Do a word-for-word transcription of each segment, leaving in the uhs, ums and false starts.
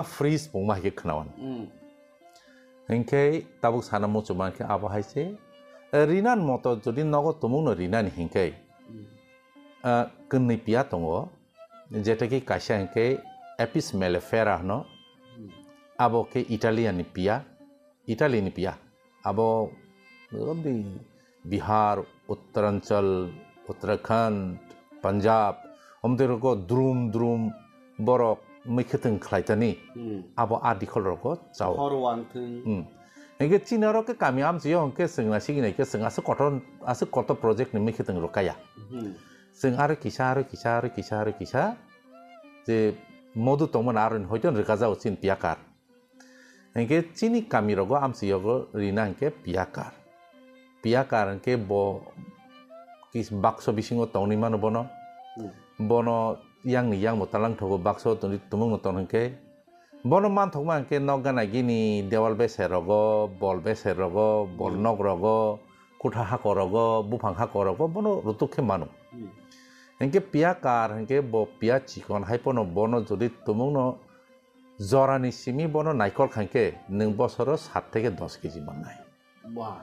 freeze pungma hai khe khnawan. Hmm. Hinkhe tabuk sana muchuma khe abo hai se, eh, rinan moto jodi nogo tumungno rinani hinkhe, Hmm. eh, kwnwi piya tongo, jeta khe kaisa hinkhe Apis mellifera hwno, Hmm. abo khe Italian ni piya, Italy ni piya. Abo, oboni Bihar, Uttaranchal, Uttarakhand, Punjab, omtwi rogo drum drum borok mwkhwtwng khlaitani, Hmm. abo a dikhol rogo chao. Hor wangthwng. Hmm. Hinkhe chini oro khe kami amchio hinkhe chwng naisingwi naikhe chwng aswk kotor, aswk kotor project ni mwkhwtwng rok kaya. Hmm. Chwng aro kisa, aro kisa, aro kisa, aro kisa je modu tongmani aroni hoito rwkajao chini piyakar. Hinkhe chini kami rogo amchiogo rina hinkhe piyakar. Piyakar hinkhe bo kis-, bakso bisingo tongwi mano bono. Hmm. Bono yangni yangbo talang thogo bakso tongwi tumungno tong hinkhe. Bono manthokma hinkhe nok gana gini dewal beser rogo, bol beser rogo, bol Hmm. nok rogo, kutha hakor rogo, buphang hakor rogo, bono rutuk khe mano. Hmm. Hinkhe piyakar hinkhe bo piya chikon hai pono bono jodi tumungno jorani simi bono naikol khankhe nwng bosoro sat theke dos keji mannai. Wah.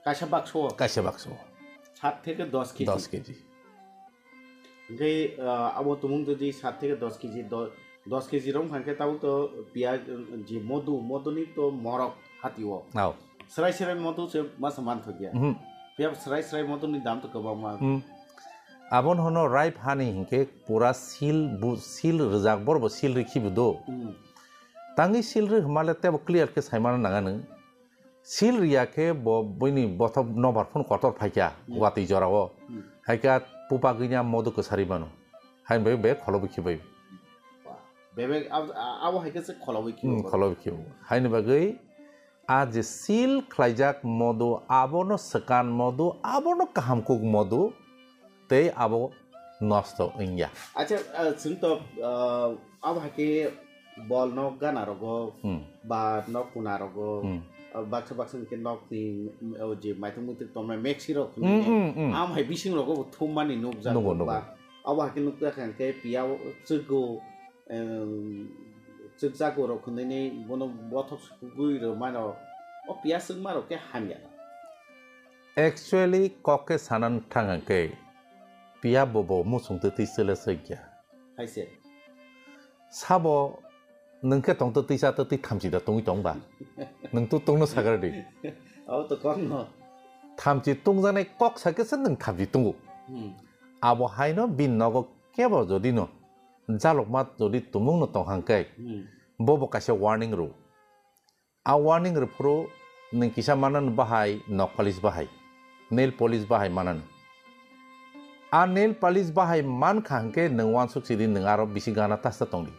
Kaisa bakso? Kaisa bakso. Sat theke dos keji? Dos keji. Hinkhe, ah, abo tumung jodi sat theke dos keji, do-, dos keji rom khankhe tabuk to piya, eh, je modu, moduni to morok hatio. Ao. Srai srai modu se masa manthokya. Mhm. Piya srai srai moduni dam to kwbangma. Hmm. Aboni hono ripe hani hinkhe pura seal bu, seal rwjak, borbo seal rikhi bo do. Hmm. Tangwi seal rw hwnmale tebo clear khe saimano nanga nwng. Seal riya khe bo buini bothop nobar phano kotor phaikha Hmm. watwi jorao. Hmm. Haikhe pupa gwinya modu kwsari mano. Haini bagwi be kholo bikhi bai. Bebek ab-, a-, abo hai khe se kholo bikhi Hmm, bo. Kholo bikhi bo. Haini bagwi a je seal khlaijak modu, abono swkan modu, abono kaham kuk modu, tei abo nosto wngya. Acha, ah, chwng to, ah, abo hai khe bol nok gana rogo, Hmm. ba nok kuna rogo, Hmm. ah, baksa baksa hwnkhe nok ni, mm, oh, je maitung muitung tongnai mexi rok Hmm, hwnwi hmm, hmm. Am hai bising rogo bo thummani nukjak Nugo, ba. Nugo. Abo hai khe nukjak hwnkhe piya o chwgo, em, chwkjago rok hwnwi bono bothop sugui rw mano, o piya chwkma rok khe hamya. Actually, kok khe sanan thang hwnkhe, piya bo bo muchung twi twi chwle chwkya. Hai se. Sabo nwng khe tong twi twi cha twi twi thamchi da tongwi tong ba? Nwng tu tongno sagar di. Abo to kokno. Thamchi tongjaknai kok sa khe se nwng thamchi tongo. Hmm. Abo haino bini nogo kebo jodi no jalukma jodi tumung no tong hang khe, Hmm. Bo bo kaisa warning rw. A warning rw phuru nwng kisa manano bahai nok polish bahai, nail polish bahai manano. A nail polish bahai man kha hwnkhe nwng uansuk sidi nwng aro bisi gana tasta tong di.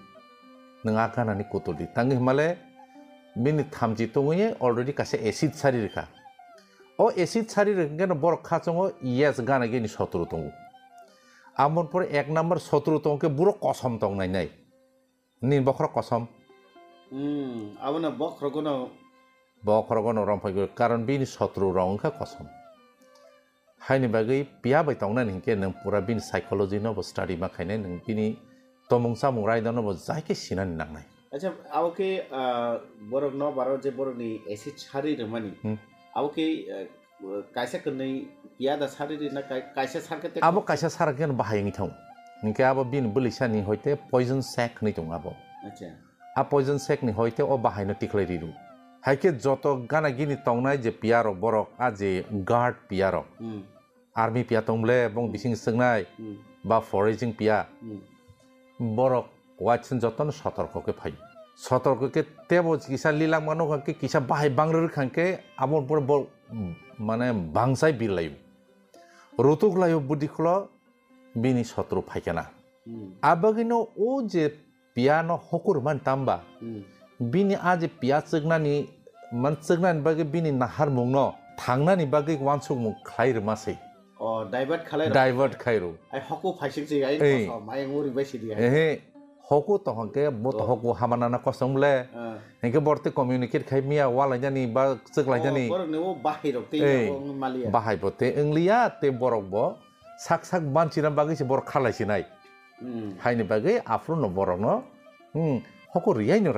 Nwng a gana ni kutul di. Tangwi hwnmale bini thamchi tongwi already kaisa acid sari rwkha. O acid sari rwkha hwnkhe no borok khachongo yes gana gini sotro tongo. Amoni pore ek number sotro tong khe borok kosom tong nai nai. Nini bokhorok kosom. Hmm, abono bokhorogono. Bokhorogono romphai gwi, karon bini sotro rok wngkha kosom. Haini bagwi piya bai tongnani hinkhe nwng pura bini psychology no bo study ma khainai, nwng bini tomung chamung raida no bo jai khe sinani nangnai. Acha, abo khe, ah, borok no baro je borok ni acid sari rwmani. Hmm. Abo khe, ah, Kaisa kwnwi piya da sari rina kai-, kaisa sar khe te Abo kaisa sar khe bahai wngwi thango. Hinkhe abo bini bwlwi sani hoite poison sac hwnwi tongo abo. Acha. A poison sac ni hoite o bahai no tikhlai riru. Haikhe joto gana gini tongnai je piya rok borok, a je guard piya rok. Hmm. Army piya tong ble bong bising swngnai, Hmm. ba foraging piya. Hmm. Borok waitsen jotono sotorko khe phaio. Sotorko khe tebo kisa lilangma nukha khe kisa bahai bangrwrwkha khe abo pore bo mane bangsai birlaio. Rutuk laio budi kholo bini sotro phaikhe na. Hmm. Abagwino o je piano hokur man tamba. Hmm. Bini a je piya chwknani, man chwknani bagwi bini naharmungno thangnani bagwi uansukmung khlai rwma se. O, divert khalai rw. Divert khai rw. Ai, hoku phaisik se, ai, Ei. Kosom, ai, ang uri bai sidi, ai. Ehe, hoku tohon ke, bo to Oh. hoku hamana na kosom le. Ah. Hinkhe borte communicate khai miya, walainani ba chwklainani. Oh, borok ni o bahai rok tei Ei, abo wng maliya. Bahai bo te wngliya, te borok bo sak sak banchina bagwi se borok khalai sinai. Hmm. Haini bagwi aphuru no borok no, hmm, hoku riyai no